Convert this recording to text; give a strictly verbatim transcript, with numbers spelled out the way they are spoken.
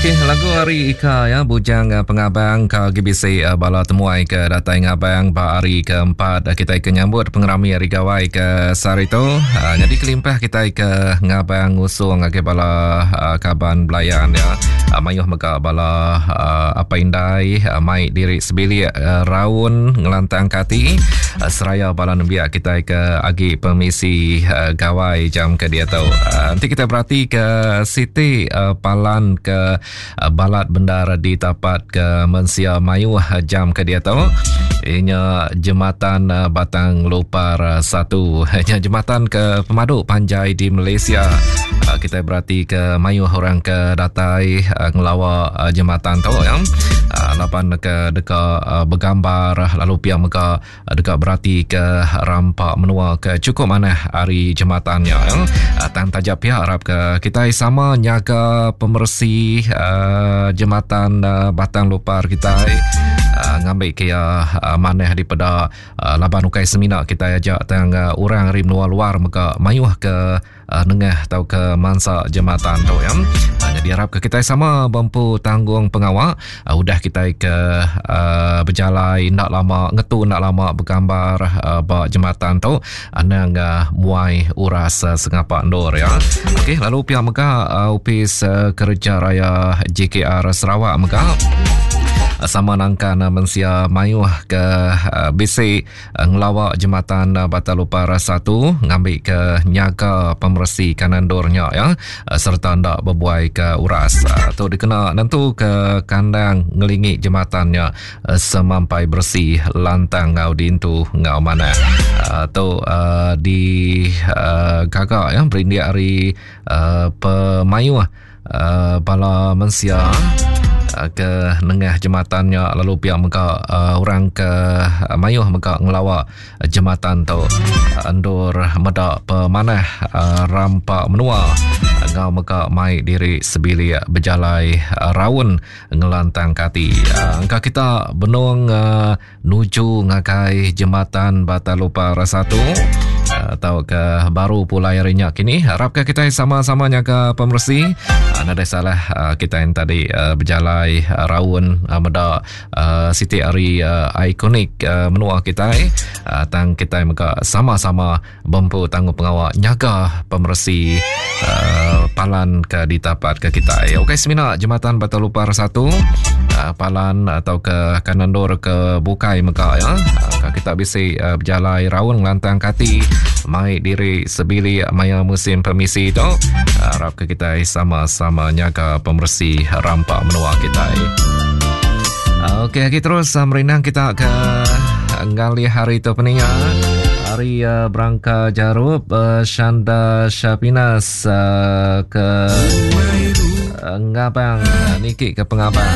Okey, lagu ari Ika ya, Bujang Pengabang ka agi bisi bala temuai ke datai ngabang ba hari keempat kitai ke nyambut pengerami Hari Gawai ke sehari tu. Nyadi kelimpah kitai ke ngabang ngusung ngagai bala kaban belayan ya, mayuh mega bala apai indai mai diri sebilik raun ngelantangka ati seraya bala nembiak kitai ke agi pemisi gawai jam ke diatu. Enti kitai beratika siti palan ke balat bendar ditapat ke mensia mayuh jam ke diatu inya Jematan Batang Lupar satu. Nya jematan ke pemadu panjai di Malaysia. Kita berati ke mayuh orang ke datai ngelawa jematan tu ya. Laban ke deka begambar lalu pia mega deka berati ke rampa menua ke cukup manah ari jematan nya. Tang taja pia harap ke kita sama nyaga pemersi uh, jematan uh, Batang Lupar kita uh, ngambil ke ya uh, manah daripada uh, laban ukai semina kita aja tang uh, orang ari menua luar mega mayuh ke uh, nengah atau ke mansa jematan tu ya. Uh, jadi harap ke kita sama bempu tanggung pengawa uh, udah kita ke uh, berjalai ndak lama ngetu ndak lama bergambar uh, ba jematan tu anang uh, muai uras uh, sengapa ndur ya. Okey, lalu pihak mega uh, Opis uh, Kerja Raya J K R Sarawak mega sama nangkan mensia mayuh ke uh, bisi uh, ngelawak jematan uh, Batang Lupar satu ngambil ke nyaga pemersi kanan dornya ya uh, serta ndak berbuai ke uras uh, tu dikena nentu ke kandang ngelingi jembatannya uh, semampai bersih lantang ngau dintu ngau mana uh, tu uh, di uh, gagak ya berindik hari uh, pemayuh uh, bala mensia ke nengah jembatannya lalu pihak mega uh, orang ke uh, mayuh mega ngelawak jembatan tu endur medak pemanah uh, rampak menua ngau mega mai diri sebilik berjalai uh, raun ngelantang kati. Uh, engka kita benung uh, nuju ngagai jembatan Batang Lupar satu atau ke baru pulai hari nya kini. Harapkan kita sama-sama nyaga pemersi. Nada salah kita yang tadi berjalai raun meda siti hari ikonik menua kita. Tang kita mega sama-sama bempu tanggung pengawal nyaga pemersi palan ke ditapat ke kita. Okey, semina jembatan Batang Lupar satu palan atau ke kanandor ke bukai mega ya. Kita bisa berjalai raun ngelantang kati mai diri sebilik maya musim permisi tu. Harap ke kita sama-sama nyaga pemersi rampak menua kita. Okey, kita terus merinang kita ke ngalih hari tu peningat. Hari uh, Berangka Jarup uh, Shanda Syapinas uh, ke uh, Ngabang uh, Niki ke Pengabang.